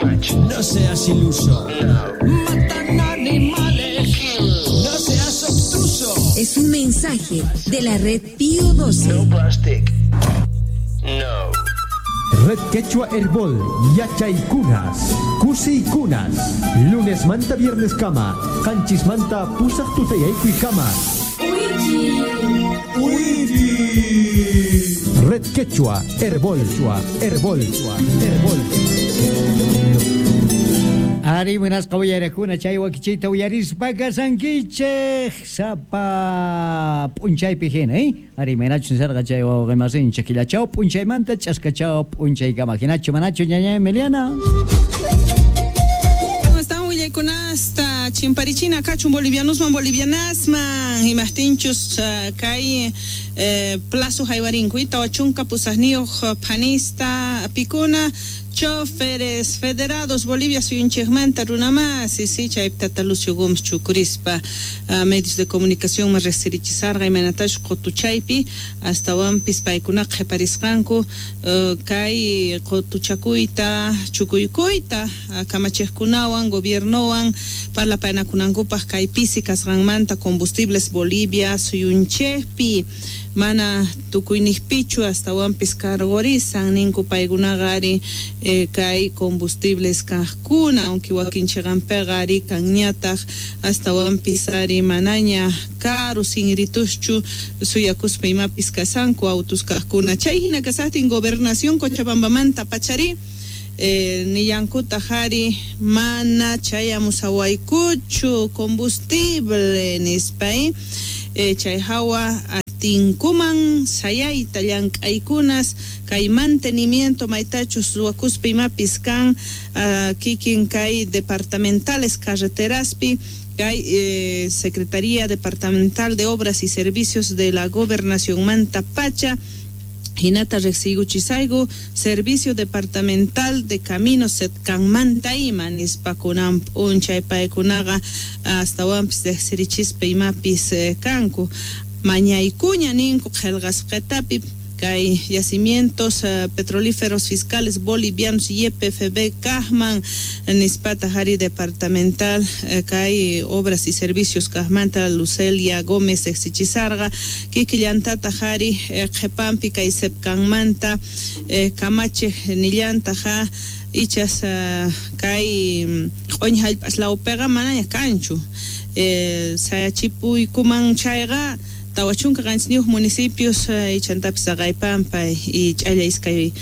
No seas iluso. Matan animales. No seas obtuso. Es un mensaje de la red Pío 12. No plastic. No. Red Quechua Herbol, Yachaykunas, Kusiykunas, lunes manta viernes kama, qanchis manta pusaq tutayaykuy kama. Red Quechua Herbol, Herbol, Herbol. Ari munasqa uyarakuna chay wakichiyta uyarispa kasankichej sapa p'unchaypi hina, eh? Ari manachu nisarqa chay wawqimasinchik killachaw p'unchaymanta ch'askachaw p'unchaykama hinachu manachu ñaña Emiliana. ¿Cómo están willaykunasta chimparichina kachun bolivianosman bolivianasman imajtinchus kay plazo haywarinku 40 pusaqniyuq phanista pikuna choferes federados Bolivia suyunchikmanta runamasi si chaypi tata Lucio Gómez chukurispa medios de comunicación ma riqsirichisarqa imaynatachus qutuchaypi astawanpis paykunaqa qhiparisqanku kay qutuchakuyta chukuykuyta kamachiqkunawan gobiernowan parlapaynakunankupaq kay pisi kasqanmanta combustibles Bolivia suyunchikpi mana tukuyniqpichu astawanpis cargorisan ninku paykunaqa ari kay combustibles kaqkuna aunque wakinchiqanpiqa ari kanñataq astawanpis ari manaña karu sinrituschu suyakuspa imapis kasanku autos kaqkuna chay hina kasaqtin gobernación Cochabambamanta pachari nillankutaq ari mana chayamusawaykuchu combustible nispa chay hawa tinkuman sayayta llank'aykunas kay mantenimiento maytachus ruwakuspa imapis kan kikin kay departamentales carreteraspi kay Secretaría Departamental de Obras y Servicios de la Gobernación Manta Pacha hinata riqsiykuchisayku Servicio Departamental de Caminos Setkanmanta ima nispa kunan p'unchay paykunaqa astawanpis riqsirichispa imapis kanku mañaykuña ninku qillqasqitapi kay yacimientos petrolíferos fiscales bolivianos YPFB kajman nispata hari departamental kay obras y servicios kajmanta Lucelia Gómez exichisarqa kikillantata hari qhipanpi kay sepkanmanta kamachiq nillantaqa ichas kay q'uñi hallp'as lawpiqa manaña kanchu sayachipuykuman chayqa 47 municipios ichantapis Saqaypampa y ch'alla iskay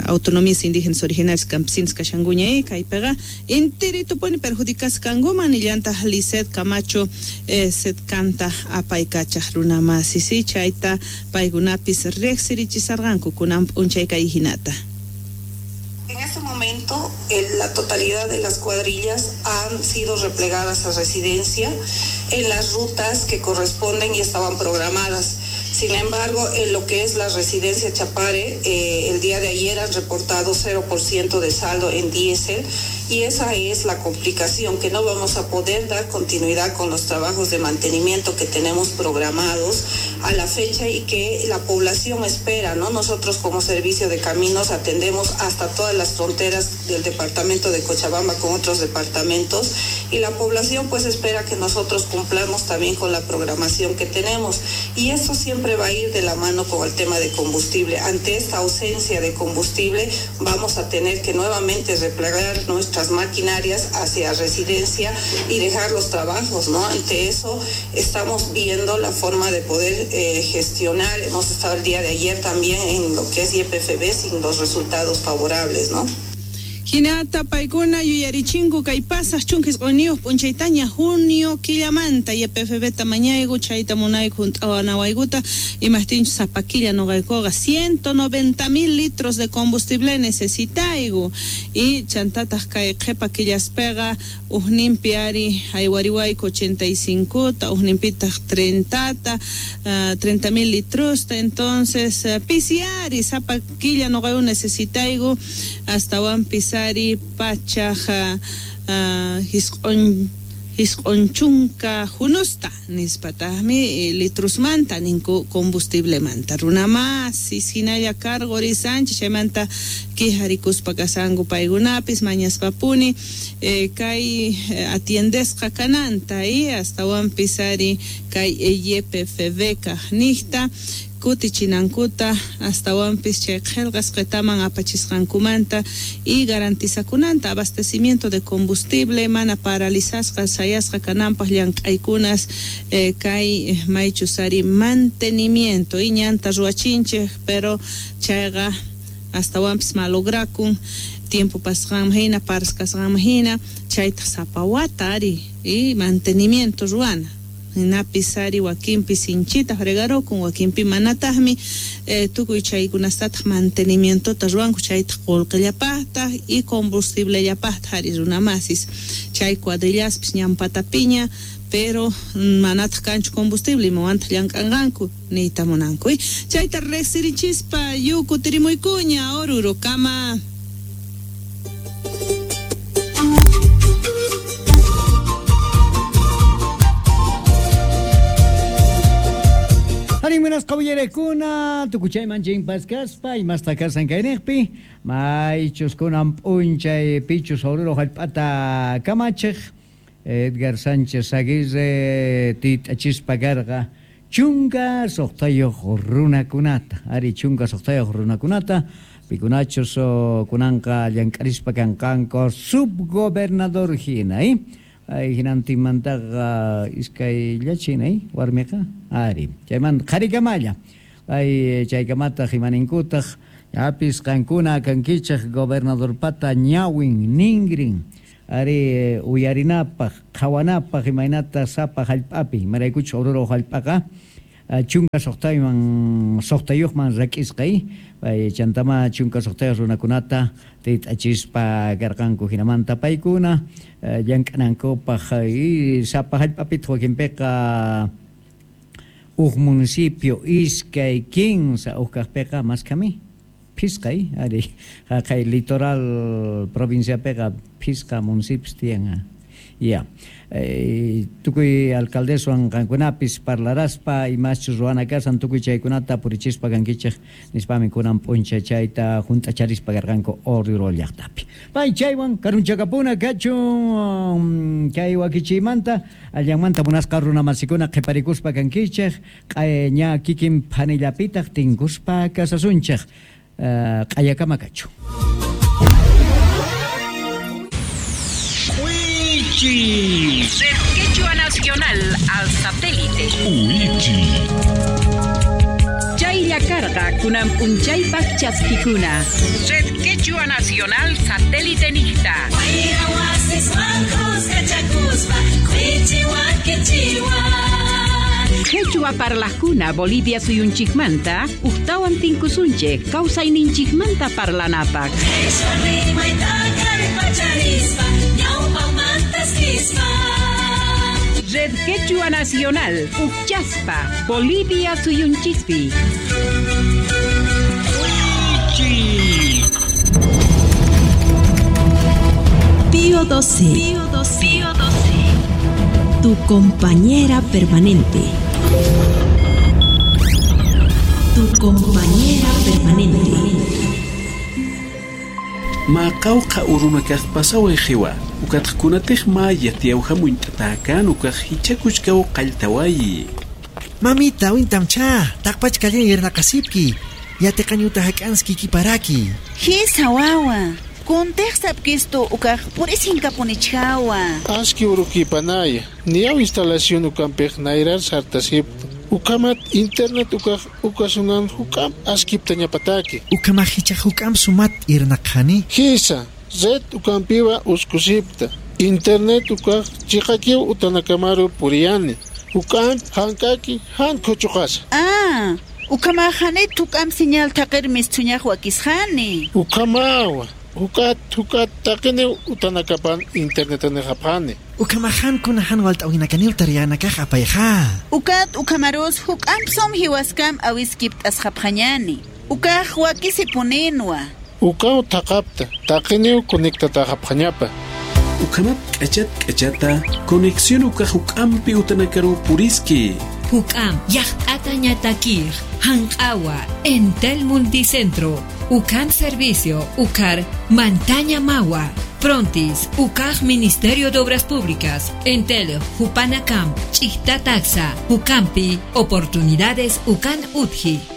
autonomías indígenas originarias campesinas kashankuña kaypiqa intiritupuni perjudicasqa kankuman nillantaq Lisset Camacho setkanta apaykachaq runamasi si chayta paykunapis riqsirichisarqanku kunan p'unchay kay hinata. En este momento, la totalidad de las cuadrillas han sido replegadas a residencia en las rutas que corresponden y estaban programadas. Sin embargo, en lo que es la residencia Chapare, el día de ayer han reportado 0% de saldo en diésel y esa es la complicación, que no vamos a poder dar continuidad con los trabajos de mantenimiento que tenemos programados a la fecha y que la población espera, ¿no? Nosotros como servicio de caminos atendemos hasta todas las fronteras del departamento de Cochabamba con otros departamentos y la población pues espera que nosotros cumplamos también con la programación que tenemos y eso siempre va a ir de la mano con el tema de combustible. Ante esta ausencia de combustible vamos a tener que nuevamente replegar nuestras maquinarias hacia residencia y dejar los trabajos, ¿no? Ante eso estamos viendo la forma de poder gestionar. Hemos estado el día de ayer también en lo que es YPFB sin los resultados favorables, ¿no? Hinata paykuna yuyarichinku kay pasaq 19 p'unchaytaña junio killamanta YPFB ta mañayku chayta munayku hunt'awanawaykuta imajtinchus sapa killa nuqaykuqa 190,000 litros de combustible necesitayku y chantataq kay qhipa killaspiqa ujninpi ari haywariwayku 85ta ujninpitaq 30ta 30,000 litrosta entonces pisi ari sapa killa nuqayku necesitayku astawanpis ari pachaja hisq'unchunka junusta nispataqmi litrusmanta ninku combustiblemanta runamasi hinalla cargorisanchik chaymanta Quejarikuspa kasanku paykunapis mañaspapuni kay atiendesqa kananta astawanpis ari kay YPFB kaqniqta kutichinankuta astawanpis chay qillqasqitaman apachisqankumanta y garantizakunanta abastecimiento de combustible mana paralizasqa sayasqa kananpaq llank'aykunas kay maychus ari mantenimiento y ñanta ruwachinchik pero chayqa astawanpis malograkun tiempo pasqanman hina paras kasqanman hina chaytaq sapa wata ari y mantenimiento ruwana hinapis ari wakinpi sinchita fregarukun wakinpi manataqmi tukuy chaykunastataq mantenimientota ruwanku chaytaq qullqillapaqtaq y combustiblellapaqtaq ari runamasis chay cuadrillaspis ñanpatapiña pero manataq kanchu combustible imawantaq llank'anqanku niyta munanku chayta riqsirichispa yukutirimuykuña Orurokama. Buenas caballerekuna, tukuchayman chimpasqaspa imasta kasan kayniqpi, maychus kunan p'unchay pichus Oruro hallp'ata kamachiq Edgar Sánchez Aguirre tit'achispa karqa 16 runakunata, ari 16 runakunata, pikunachus kunanqa llank'arispa kanqanku subgobernador hina, Ay hinantinmantaqa iskayllachina warmiqa ari chaymanta qharikamalla ay chaykamataq imaninkutaq yapis qankuna kankichaq gobernadorpata ñawin ningrin ari uyarinapaq qhawanapaq imaynata sapa hallp'api imaraykuchus Oruro hallp'aqa 16 rak'isqa ay chantama 16 runakunata tit'achispa karqanku hinamanta paykuna llank'anankupaq y sapa hallp'apitaq wakinpiqa uj municipio iskay 15 uj kaqpiqa maskami phisqay ari haqay litoral provinciapiqa phisqa municipios tiyan. Ya. Tukuy alcaldeswan qankunapis parlaraspa imaschus ruwana kasan tukuy chaykunata purichispa kankichik nispami kunan p'unchay chayta hunt'acharispa karqanku Oruro llaqtapi. Pay chaywan karunchakapuna kachun kay wakichiymanta allanmanta munasqa runamasikuna qhiparikuspa kankichik ña kikin phanillapitaq tinkuspa kasasunchik q'ayakama kachun. Red Quechua Nacional al satélite. Uichi. Chaylla karqa kunan p'unchaypaq chaskikuna. Red Quechua Nacional satélite niqta. Quechua parlajkuna Bolivia suyunchikmanta uqtawan tinkusunchik kawsayninchikmanta parlanapaq. Red Quechua Nacional, Uchaspa, Bolivia suyunchispi. Pío 12. Pío 12. Pío 12. Tu compañera permanente. Tu compañera permanente. Maqawqa urunakaq pasaway qiwa. Ukatqkunataq ma yatiyawhamunt'atakan ukaq hichakuchkaw qalltawayi. Mamita, wintamcha, taqpachkallan yernaqasipki. Yatiqañuta hak'anski kiparaki. Hisa wawa. Kuntiqsapkistu ukaq purisinkamunichkawa. Aski urukipanaya. Niyaw instalación ukampiq nayrar sartasipta. Ukamat internet ukaq ukasunan hukam askipta ñapataki. Ukama hicha hukam sumat irnaqhani. Hisa. Red ukampiwa uskusipta. Internet ukaq chiqakiw utanakamaru puriyani. Ukam hankaki han kuchuqasa. Ah, ukama hanit ukam señal taqirmis tuñaq wakisqani. Ukamawa. Ukat ukat taqini utanakapan internet nihapani. Ukamahan kunahan walt'awinakanil tariyanakaq apayqa. Ukat ukamarus hukam som hiwaskam awiskipt asqapqañani. Ukaq wakisipuninwa. Ukaw taqapta taqiniw conectataqapqañapa. Ukamat k'achat k'achata conexión ukaq hukampi utanakaru puriski. Hukam yaqt'ata ñatakir hanq'awa Entel Multicentro Ucan Servicio, Ucar, Mantaña Magua, Frontis, Ucaj Ministerio de Obras Públicas, Entel, Jupanacamp, Taxa, Ucampi, Oportunidades Ucan Utji.